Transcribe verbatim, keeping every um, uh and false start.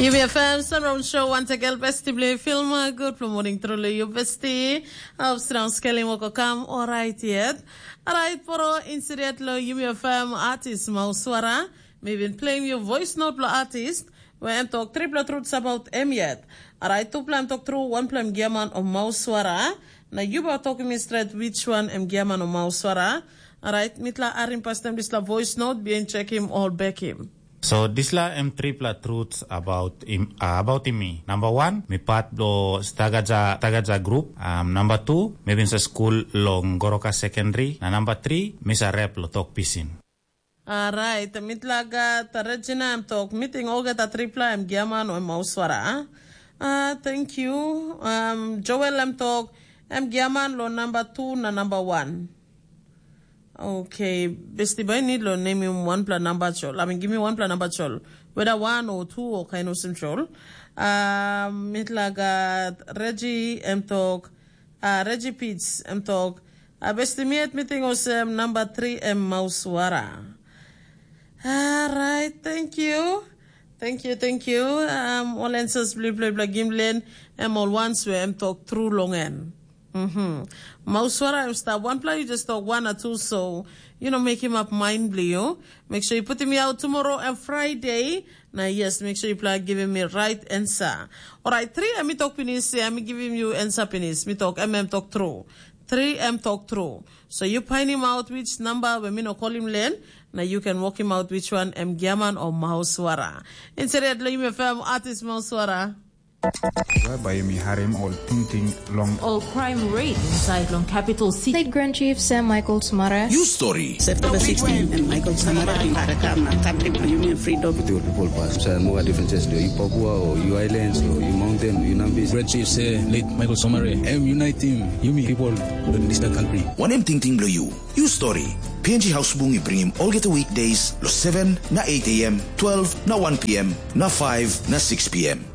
Yumi F M Sunround Show once again, besti bli film. Good for morning, truly, you besti. Hope strong scaling wako kam, alright yet. Alright, poro insidet lo Yumi F M artist Mauswara. Mi bin playing you voice note lo artist, where em talk triple truths about em yet. Alright, two plan talk through, one plan giaman o Mauswara. Na you ba talk me straight which one em giaman o Mauswara. Alright, mitla arim pastem disla voice note, bien check him all back him. So dispela em tripela truths about im, uh, about mi. Number one, mi part lo Stagaja Tagaja group. Um, number two, mi bin sa school long Goroka Secondary. Na number three, mi sa rap lo tok pisin. Alright, mitlaga ta Regina em tok, meeting olgeta tripela em giaman o em auswara. Ah, thank you. Um, Joel em tok, em giaman lo number two na number one. Okay, besti bai need lo name him one pla number chol. I mean, give me one pla number chol. Whether one or two or kind of sim chol. Um, mitlaga Reggie em tok, uh, Reggie Pitts em tok, uh, besti miet meeting osem number three em mauswara. Alright, thank you. Thank you, thank you. Um, all answers bli bli bli gimlen em all ones we em talk through long en. Mm-hmm. Mauswara em stap. One pla you just talk one or two, so you know, make him up mind bli you. Make sure you put him out tomorrow and Friday. Now yes, make sure you pla give him a right answer. All right, three em talk pinis, yeah, me giving you answer pinis. Me talk M M talk through. Three em talk through. So you find him out which number when me no call him len. Now you can work him out which one em giaman or mauswara. Instead let him F M artist mauswara. Bai yumi harim ol tingting long ol crime rate inside long capital city. State Grand Chief Sam Michael Sumara. You story. September sixteen and Michael Sumara bin harakam na country for union freedom. With your people pass. Sa mo different chest do you Papua or you islands or you mountain, you Nambis. Grand Chief say late Michael Sumara. Em unite him. Yumi people in this country. Wanem tingting blo you? You story. P N G House Bungi bring him olgeta weekdays lo seven na eight a m, twelve na one p m, na five na six p m.